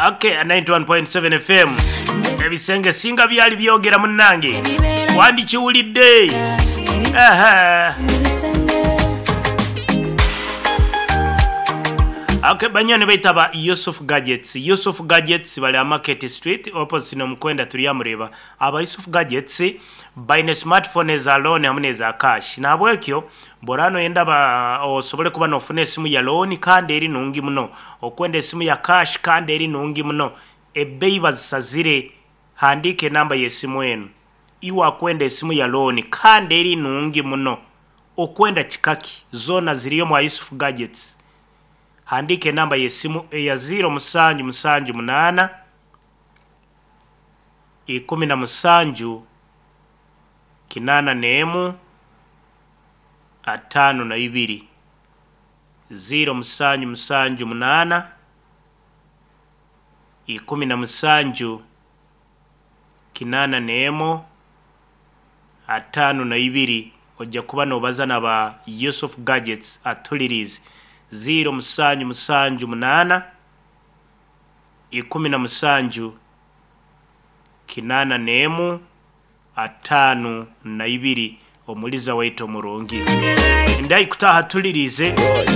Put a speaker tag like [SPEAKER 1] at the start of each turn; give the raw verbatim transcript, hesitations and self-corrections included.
[SPEAKER 1] Okay, ninety-one point seven F M. Ebisenge singa byali byogera, munnange, wandikiwulidde. Aha. Okay, banyoni baitaba Yusuf Gadgets. Yusuf Gadgets bali Market Street opposite nomukwenda turyamureba. Aba Yusuf Gadgets baine smartphone za loan hamwe neza cash. Nahabwekyo borano yenda ba osobole kuba nofuna esimu ya loan kandi eri nungi muno. Okwenda esimu ya cash kandi eri nungi muno. Ebbeyi bazisazire. Handike enamba y'esimu enu. Iwe akwenda esimu ya loan kandi eri nungi muno. Okwenda kikaki zona ziriyo mwa Yusuf Gadgets. Handika enamba y'esimu eya zero musanju musanju munaana ikumi na musanju kinaana n'emu ataano na ibiri, zero musanju musanju munaana ikumi na musanju kinaana n'emu ataano na ibiri. Ojja kuba nobaza naba Yusuf Gadgets atulirize. zero musanju musanju munaana ikumi na musanju kinaana n'emu ataano na ibiri. Omuliza waitu omurungi ndayi kutaha tulirize.